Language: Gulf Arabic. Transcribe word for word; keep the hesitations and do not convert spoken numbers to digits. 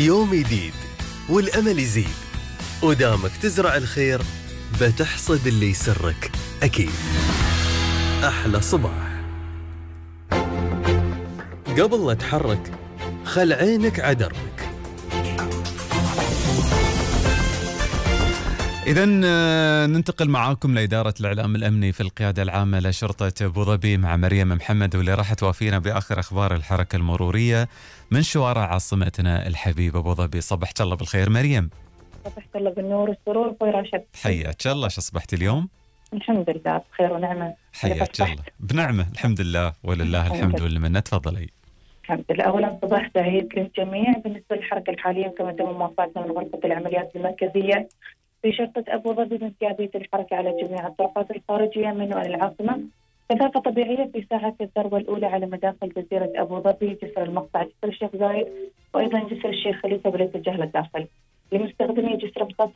يوم جديد والأمل يزيد، ودامك تزرع الخير بتحصد اللي يسرك أكيد. أحلى صباح. قبل لا تحرك خل عينك عدربك. إذن ننتقل معاكم لإدارة الإعلام الأمني في القيادة العامة لشرطة أبو ظبي مع مريم محمد، واللي راح توافينا بآخر أخبار الحركة المرورية من شوارع عاصمتنا الحبيبة أبو ظبي. صبحت الله بالخير مريم. صبحت الله بالنور والسرور خوي راشد. حياك الله، شو صبحتي اليوم؟ الحمد لله بخير ونعمة. حياك الله. بنعمة الحمد لله ولله الحمد والمنة. تفضلي. الحمد لله. أولا صباح سعيد للجميع. بالنسبة للحركة الحالية كما تم موافقتنا من غرفة العمليات المركزية في شرطة أبو ظبي من قيادية الحركة على جميع الطرقات الخارجية من العاصمة. كثافة طبيعية في ساعة الذروة الأولى على مداخل جزيرة أبو ظبي، جسر المقطع، جسر الشيخ زايد، وأيضا جسر الشيخ خليفة بالاتجاه للداخل. لمستخدمي جسر محطة